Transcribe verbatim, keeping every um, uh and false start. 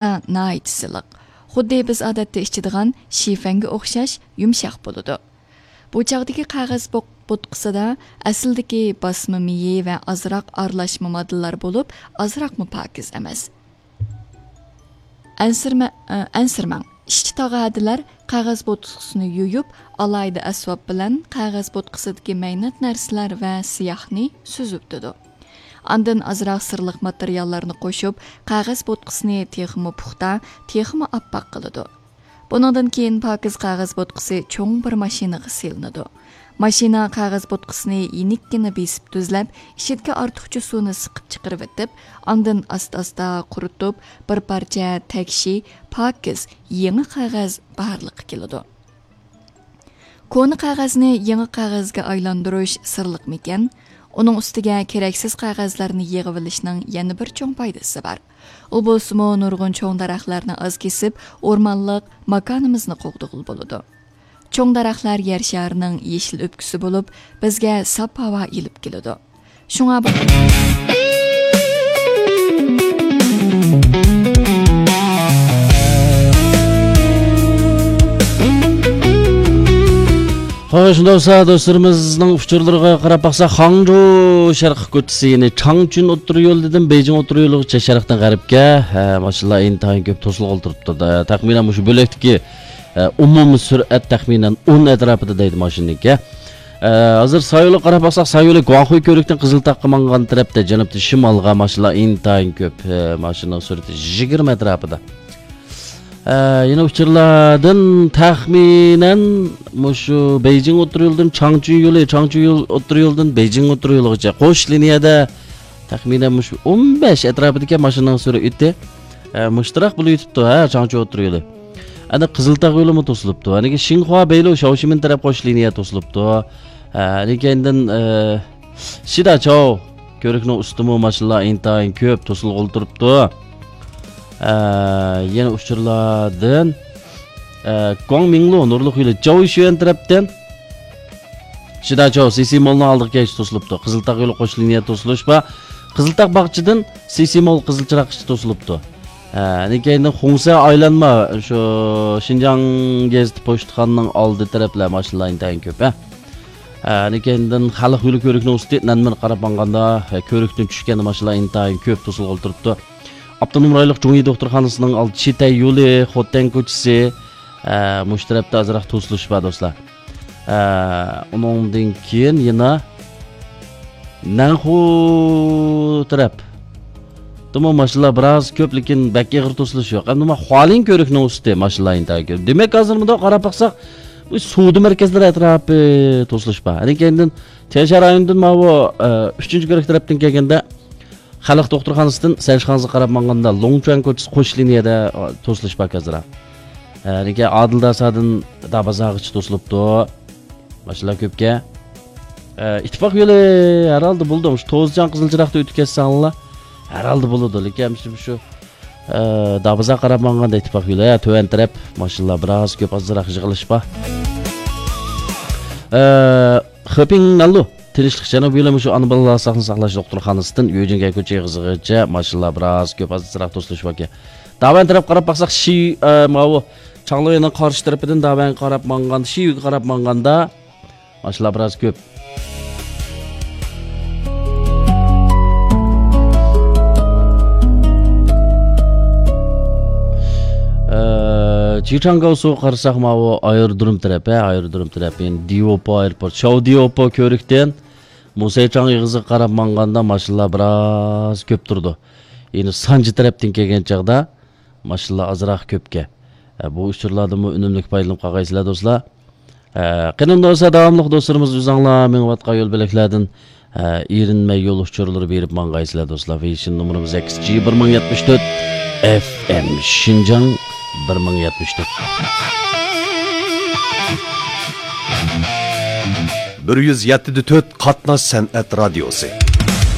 ناھايىتى سىلىق. خۇددى بىز ئادەتتە ئىچىدىغان شىفەنگە ئوخشاش يۇمشاق بولىدۇ. بۇ چاغدىكى قەغەز بوق-، بوتقىسىدا ئەسلىدىكى باسما مېيى ۋە ئازراق ئارىلاشما ماددىلار بولۇپ، ئازراقمۇ پاكىز ئەمەس. ئەنسىرمە-، ئە، ئەنسىرىمەڭ. ئىشچى تاغادىلەر قەغەز بوتقىسىنى يۇيۇپ، ئالاھىدە ئەسۋاب بىلەن قەغەز بوتقىسىدىكى مەينەت نەرسىلەر ۋە سىياھنى سۈزۈۋېتىدۇ. ئاندىن ئازراق سىرلىق ماتېرىياللارنى قوشۇپ، قەغەز بوتقىسىنى تېخىمۇ پۇختا، تېخىمۇ ئاپئاق قىلىدۇ. بۇنىڭدىن كېيىن پاكىز قەغەز بوتقىسى چوڭ بىر ماشىنىغا سېلىنىدۇ. ماشىنا قەغەز بوتقىسىنى يېنىككىنە بېسىپ تۈزلەپ، ئىچىدىكى ئارتۇقچە سۇنى سىقىپ چىقىرىۋېتىپ، ئاندىن ئاستا-ئاستا قۇرۇتۇپ، بىر پارچە تەكشى، پاكىز، يېڭى قەغەز بارلىققا كېلىدۇ. كونا قەغەزنى يېڭى قەغەزگە ئايلاندۇرۇش سىرلىقمىكەن؟ ئۇنىڭ ئۈستىگە كېرەكسىز قەغەزلەرنى يىغىۋېلىشنىڭ يەنە بىر چوڭ پايدىسى بار. ئۇ بولسىمۇ نۇرغۇن چوڭ دەرەخلەرنى ئاز كېسىپ، ئورمانلىق ماكانىمىزنى قوغدىغىلى بولىدۇ. چوڭ دەرەخلەر يەر شارىنىڭ يېشىل ئۆپكىسى بولۇپ، بىزگە ساپ ھاۋا ئېلىپ كېلىدۇ. شۇڭا بۇ خوش، دوستلار، دوستلىرىمىزنىڭ ئۇچۇرلىرىغا قاراپ باقساق، خاڭجۇ شەرقىي كوچىسى، يەنى چاڭچۈن ئوتتۇرا يول دېدىم، بېيجىڭ ئوتتۇرا يولىغىچە شەرقتىن غەربكە، ھە، ماشىنىلار ئىنتايىن كۆپ توسۇلغىلى تۇرۇپتۇ. تەخمىنەن مۇشۇ بۆلەكتىكى، ھە، ئومۇمىي سۈرئەت تەخمىنەن ئون ئەتراپىدا دەيدۇ ماشىنىنىڭكى. ھە، ھازىر سايولىغا قاراپ باقساق، سايولى گۇاڭخۇي كۆۋرۈكتىن قىزىلتاغقا ماڭغان تەرەپتە، جەنۇبتىن شىمالغا ماشىنىلار ئىنتايىن كۆپ. ھە، ماشىنىنىڭ سۈرئىتى يىگىرمە ئەتراپىدا. ئە، يەنە ئۇچۇرلاردىن تەخمىنەن مۇشۇ بېيجىڭ ئوتتۇرا يولىدىن چاڭچۈن يولى، چاڭچۈن يول، ئوتتۇرا يولىدىن بېيجىڭ ئوتتۇرا يولىغىچە قوش لىنىيەدە تەخمىنەن مۇشۇ ئون بەش ئەتراپىدىكى ماشىنىنىڭ سۈرئىتى، ئە، مۇشتراق بولۇۋېتىپتۇ، ھە، چاڭچۈن ئوتتۇرا يولى. ئەنە قىزىلتاغ يولىمۇ توسۇلۇپتۇ. ئەنىكى شىنخۇا بەيلۇ شاۋشىمىن تەرەپ قوش لىنىيە توسۇلۇپتۇ. ئە، ئەنىكەيندىن، ئە، شىداچاۋ كۆۋرۈكنىڭ ئۈستىمۇ ماشىنىلار ئىنتايىن كۆپ توسۇلغىلى تۇرۇپتۇ. ئە، يەنە ئۇچۇرلاردىن، ئە، گۇاڭمىڭلۇ نۇرلۇق يولى جاۋشۈەن تەرەپتىن شىداچاۋ سىسى مولنىڭ ئالدىغا كەلگۈچە توسۇلۇپتۇ. قىزىلتاغ يولى قوش لىنىيە توسۇلۇش بار. قىزىلتاغ باغچىدىن سىسى مول قىزىل چىراغقىچە توسۇلۇپتۇ. ئە، ئەنىكەيندىن خۇڭسە ئايلانما، شۇ شىنجاڭ گېزىتى پوچتىخانىنىڭ ئالدى تەرەپلەر ماشىنىلار ئىنتايىن كۆپ، ھە. ئە، ئەنىكەيندىن خەلق يولى كۆۋرۈكنىڭ ئۈستى نەنمىن قاراپ ماڭغاندا، ئە، كۆۋرۈكتىن چۈشكەندە ماشىنىلار ئىنتايىن كۆپ توسۇلغىلى تۇرۇپتۇ. ئاپتونوم رايونلۇق جۇڭيى دوختۇرخانىسىنىڭ ئالدى چىتەي يولى، خوتەن كوچىسى، ئە، مۇشۇ تەرەپتە ئازراق توسۇلۇش بار، دوستلار. ئە، ئۇنىڭدىن كېيىن يەنە نەنخۇ تەرەپ. دىمۇ ماشىنىلار بىراز كۆپ، لېكىن بەك ئېغىر توسۇلۇش يوق. ئەمدى ما خۇالىن كۆۋرۈكنىڭ ئۈستى ماشىنىلار ئىنتايىن كۆپ. دېمەك، ھازىر مۇنداق قاراپ باقساق، بۇ سودا مەركەزلىرى ئەتراپى توسۇلۇش بار. ئەنە كەينىدىن تيەنشان رايونىدىن ماۋۇ، ئە، ئۈچىنچى كۆۋرۈك تەرەپتىن كەلگەندە، خەلق دوختۇرخانىسىدىن سەنشىخاڭزىغا قاراپ ماڭغاندا، لوڭچۈەن كوچىسى قوش لىنىيەدە، ئا، توسۇلۇش بار ھازىر. ئە، لېكىن ئادىل داسادىن دابازاغىچە توسۇلۇپتۇ. ماشىنىلار كۆپكەن. ئە، ئىتتىپاق يولى ھەر ھالدا بولىدۇ. شۇ توزىچان قىزىل چىراغدا ئۆتۈپ كەتسەڭلار، ھەر ھالدا بولىدۇ. لېكىن شۇ، شۇ، ئە، دابازاغا قاراپ ماڭغاندا ئىتتىپاق يولى، ھە، تۆۋەن تەرەپ ماشىنىلار بىراز كۆپ، ئازراق يىغىلىش بار. ئە، خېپىڭ ناللۇ. تىنچلىق جەنۇبىي يولى مۇشۇ ئانا بالىلار ساقلىنى ساقلاش دوختۇرخانىسىدىن يۈجىنگەي كوچا ئېغىزىغىچە ماشىنىلار بىراز كۆپ، ئازراق توسۇلۇش باركەن. داۋەن تەرەپ قاراپ باقساق، شى، ئە، ماۋۇ چاڭلۇينىڭ قارشى تەرىپىدىن داۋەنگە قاراپ ماڭغان، شىيۈگە قاراپ ماڭغاندا ماشىنىلار بىراز كۆپ. ئە، جىچاڭگاۋسۇغا قارىساق، ماۋۇ ئايرودروم تەرەپ، ھە، ئايرودروم تەرەپ. يەنى دىۋوپو ئايروپورت، شاۋ دىۋوپو كۆۋرۈكتىن موسەيچاڭ ئېغىزىغا قاراپ ماڭغاندا ماشىنىلار بىراز كۆپ تۇرىدۇ. يەنى سانجى تەرەپتىن كەلگەن چاغدا ماشىنىلار ئازراق كۆپكەن. ئە، بۇ ئۇچۇرلاردىنمۇ ئۈنۈملۈك پايدىلىنىپ قالغايسىلەر، دوستلار. ئە، قېنى ئۇنداق بولسا، داۋاملىق دوستلىرىمىز ئۆزۈڭلار مېڭىۋاتقان يول بۆلەكلەردىن، ئە، ئېرىنمەي يول ئۇچۇرلىرى بېرىپ ماڭغايسىلەر، دوستلار. ۋېيشىن نومۇرىمىز ئەكس جى بىر مىڭ يەتمىش تۆت ئەف ئېم، شىنجاڭ بىر مىڭ يەتمىش تۆت. بىر يۈز يەتتە دە تۆت قاتناش سەنئەت رادىيوسى.